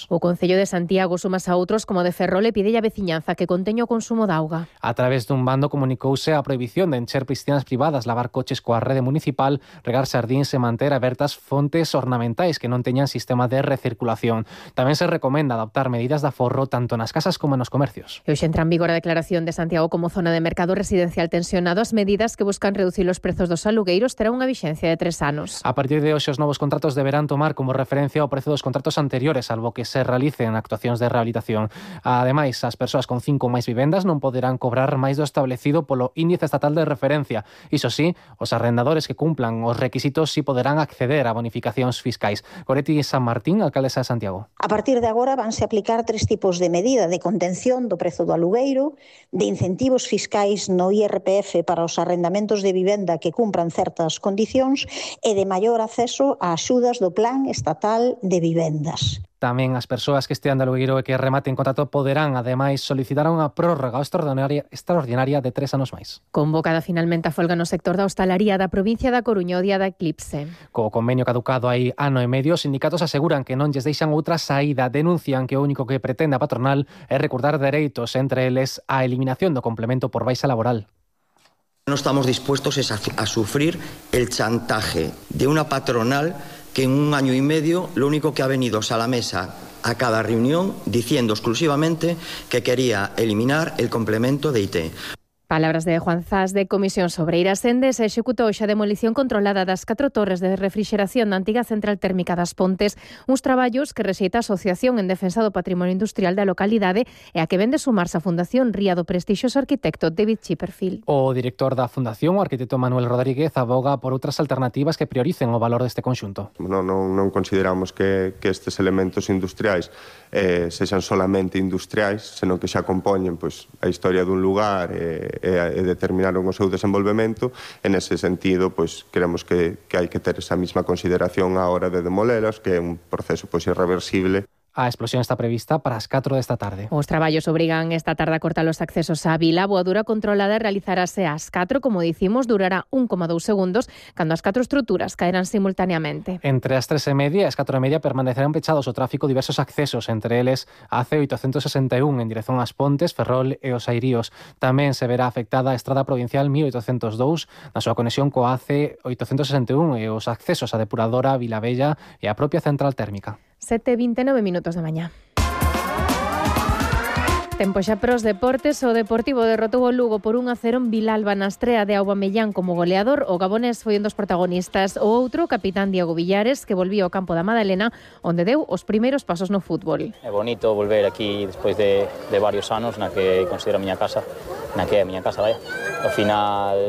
O Concello de Santiago sumas a outros como de Ferrol e pide a veciñanza que conteña o consumo de auga. A través dun bando comunicouse a prohibición de encher piscinas privadas, lavar coches coa rede municipal, regar xardíns e manter abertas fontes ornamentais que non teñan sistema de recirculación. Tamén se recomenda adoptar medidas de aforro tanto nas casas como nos comercios. E hoxe entra en vigor a declaración de Santiago como zona de mercado residencial tensionado. As medidas que buscan reducir os prezos dos alugueiros terán unha vixencia de 3 anos. A partir de hoxe os novos contratos deberán tomar como referencia o prezo dos contratos anteriores, salvo que se realicen actuacións de rehabilitación. Ademais, as persoas con 5 ou máis vivendas non poderán cobrar máis do establecido polo índice estatal de referencia. Iso sí, os arrendadores que cumplan os requisitos sí poderán acceder a bonificacións fiscais. Goretti San Martín, alcaldesa de Santiago. A partir de agora vanse aplicar 3 tipos de medida de contención do prezo do alugueiro, de incentivos fiscais no IRPF para os arrendamentos de vivenda que cumpran certas condicións e de maior acceso a axudas do Plan Estatal de Vivendas. Tamén as persoas que estean de alugueiro e que rematen contrato poderán, ademais, solicitar unha prórroga extraordinaria de 3 anos máis. Convocada finalmente a folga no sector da hostalaría da provincia da Coruña o día da eclipse. Co convenio caducado hai ano e medio, os sindicatos aseguran que non lles deixan outra saída. Denuncian que o único que pretende a patronal é recordar dereitos, entre eles a eliminación do complemento por baixa laboral. No estamos dispuestos a sufrir el chantaje de una patronal que en 1 año y medio lo único que ha venido es a la mesa a cada reunión diciendo exclusivamente que quería eliminar el complemento de IT. Palabras de Juan Zas de Comisión Sobreira. Sende se executou xa a demolición controlada das 4 torres de refrixeración da antiga central térmica das Pontes, uns traballos que rexeita a Asociación en Defensa do Patrimonio Industrial da localidade e a que vende sumarse a Fundación Ría do prestixioso arquitecto David Chipperfield. O director da Fundación, o arquitecto Manuel Rodríguez, aboga por outras alternativas que prioricen o valor deste conxunto. Non consideramos que estes elementos industriais sexan solamente industriais, senón que xa compoñen a historia dun lugar e determinaron o seu desenvolvemento. En ese sentido, creemos que hai que ter esa mesma consideración á hora de demolelas, que é un proceso irreversible. A explosión está prevista para as 4 desta tarde. Os traballos obrigan esta tarde a cortar os accesos á vila. A voadura controlada realizarase ás 4, como dicimos, durará 1,2 segundos, cando as 4 estruturas caerán simultaneamente. Entre as 3:30 e as 4:30 permanecerán pechados o tráfico diversos accesos, entre eles a C861 en dirección ás Pontes, Ferrol e os Airíos. Tamén se verá afectada a Estrada Provincial 1802 na súa conexión coa C861 e os accesos á depuradora Vilavella e a propia central térmica. 7:29 minutos da mañá. Tempo xa pros deportes. O Deportivo derrotou o Lugo por 1-0 en Vilalba na estrea de Aubameyang como goleador. O gabonés foi un dos protagonistas. O outro, o capitán Diego Villares, que volvía ao campo da Madalena, onde deu os primeiros pasos no fútbol. É bonito volver aquí despois de varios anos na que considero a miña casa, na que é a miña casa, vaya. Ao final,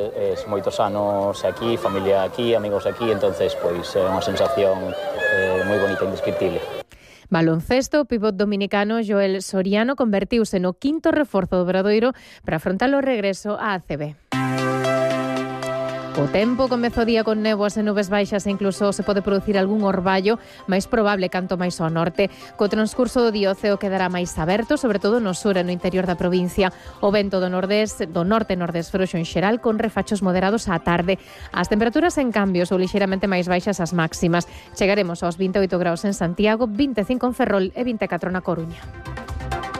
moitos anos aquí, familia aquí, amigos aquí, entonces é unha sensación moi bonita, indescriptible. Baloncesto, o pivot dominicano Joel Soriano convertiuse no 5º reforzo do Obradoiro para afrontar o regreso á ACB. O tempo comezou o día con néboas e nubes baixas e incluso se pode producir algún orballo, máis probable canto máis ao norte. Co transcurso do día o ceo quedará máis aberto, sobre todo no sur e no interior da provincia. O vento do norte-nordés frouxo en xeral, con refachos moderados á tarde. As temperaturas en cambio son lixeiramente máis baixas as máximas. Chegaremos aos 28 graus en Santiago, 25 en Ferrol e 24 na Coruña.